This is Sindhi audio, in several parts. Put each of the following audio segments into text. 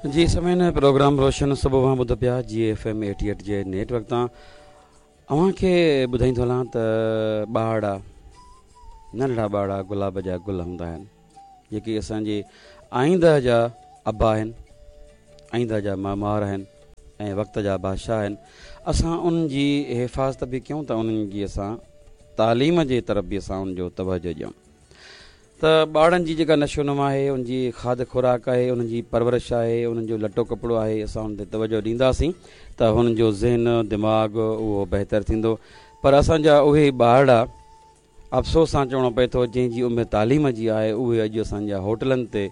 جي سامعين پروگرام روشن صبح اوهان ٻڌو پيا جي ايف ايم 88 جي نيٽ ورڪ تان اوهان کي ٻڌائيندو هلان ته ٻارڙا ننڍڙا ٻارڙا گلاب جا گل هوندا آهن جيڪي اسان جي آئنده جا ابا آهن آئنده جا معمار آهن ۽ وقت جا بادشاهه آهن اسان انهن جي حفاظت به ڪيون ته انهن جي اسان تعليم جي طرف به اسان ان جو توجه ڏيون ته ٻارڙن جي جيڪا نشو نما آهي ان جي کاڌ خوراڪ آهي انهن جي پرورش آهي انهن جو لٽو ڪپڙو آهي اسان ان تي توجه ڏينداسين ته هنن جو ذهن دماغ اهو بهتر ٿيندو پر اسان جا اهي ٻارڙا افسوس سان چوڻو پئي ٿو جنهن جي عمر تعليم جي آهي اهي اڄ اسان جا هوٽلن تي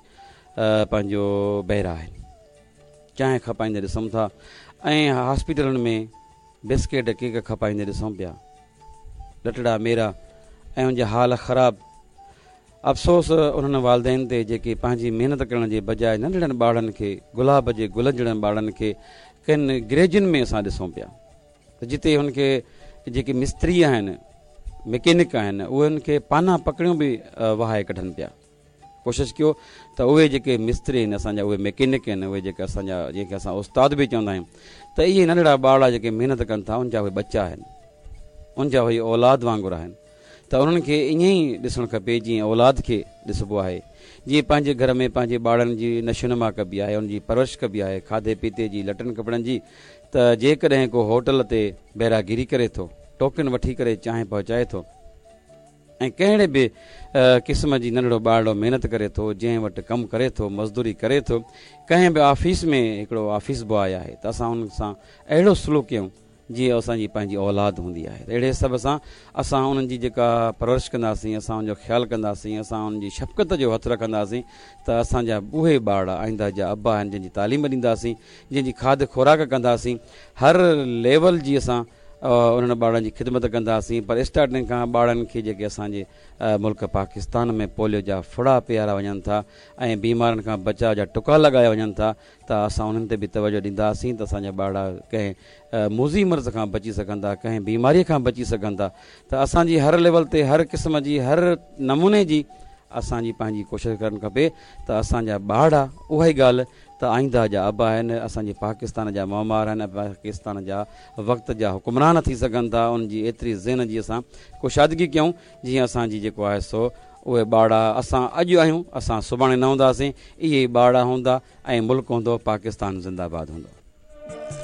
پنهنجو بهرا آهن چانهه کپائيندي ڏسون ٿا ۽ هاسپيٽلن ۾ بسڪيٽ ڪيڪ کپائيندي ڏسون پيا لٽڙا ميرا ۽ ان جا حال خراب. افسوس انهن والدين تي جيڪي پنهنجي محنت ڪرڻ جي بجاء ننڍڙن ٻارڙن کي گلاب جي گلن جهڙن ٻارڙن کي ڪن گريجن ۾ اسان ڏسون پيا ته جتي هن کي جيڪي مستري آهن مڪينڪ آهن اهي هن کي پانا پڪڙيون به وهائي ڪڍن پيا. ڪوشش ڪيو ته اهي جيڪي مستري آهن اسان جا اهي ميڪينڪ آهن اهي جيڪي اسان جا جنهن کي اسان استاد به چوندا آهيون ته اهي ننڍڙا ٻارڙا جيڪي محنت ڪن ٿا ان جا اهي ٻچا آهن ان جا اهي اولاد وانگر آهن ته انهن کي ائين ئي ڏسڻ کپي جيئن اولاد کي ڏسبو آهي جيئن پنهنجي گهر ۾ پنهنجي ٻارڙن جي نشونما ڪبي آهي ان جي پرورش ڪبي آهي کاڌي پيتي جي لٽن ڪپڙن جي ته جيڪڏهن ڪو هوٽل تي بيراگيري ڪري ٿو ٽوڪن وٺي ڪري چانهه پهچائي ٿو ۽ ڪهڙي به قسم جي ننڍڙو ٻارڙو محنت ڪري ٿو، جنهن وٽ ڪم ڪري ٿو، مزدوري ڪري ٿو، ڪنهن به آفيس ۾ هڪڙو آفيس بواء آهي ته اسان ان سان اهڙو سلوڪ ڪيون جيئن اسان جي پنهنجي اولاد هوندي آهي ته اهڙي حساب سان اسان انهن جي جيڪا پرورش ڪنداسين، اسان ان جو خيال ڪنداسين، اسان انهن جي شفقت جو هٿ رکنداسين ته اسان جا اهي ٻارڙا آئنده جا ابا آهن جن جي تعليم ڏينداسين، جن جي کاڌ خوراڪ ڪنداسين، هر ليول جي اسان انهن ٻارڙن جي خدمت ڪنداسين پر اسٽارٽنگ کان ٻارڙن کي جيڪي اسان جي ملڪ پاڪستان ۾ پوليو جا ڦڙا پيارا وڃن ٿا ۽ بيمارين کان بچاء جا ٽڪا لڳايا وڃن ٿا ته اسان انهن تي به توجه ڏينداسين ته اسان جا ٻارڙا ڪنهن موذي مرض کان بچي سگهن ٿا ڪنهن بيماري کان بچي سگهن ٿا ته اسان جي هر ليول تي هر قسم جي هر نموني جي اسان جي پنهنجي ڪوشش ڪرڻ کپي ته اسان جا ٻارڙا اها ئي ڳالهه ته آئنده جا ابا آهن، اسان جي پاڪستان جا معمار آهن ۽ پاڪستان جا وقت جا حڪمران ٿي سگهن ٿا، انهن جي ايتري ذهن جي اسان ڪشادگي ڪيون جيئن اسان جي جيڪو آهي سو اهي ٻارڙا اسان اڄ آهيون اسان سڀاڻي نه هونداسين، اهي ئي ٻارڙا هوندا ۽ ملڪ هوندو، پاڪستان زنده باد هوندو.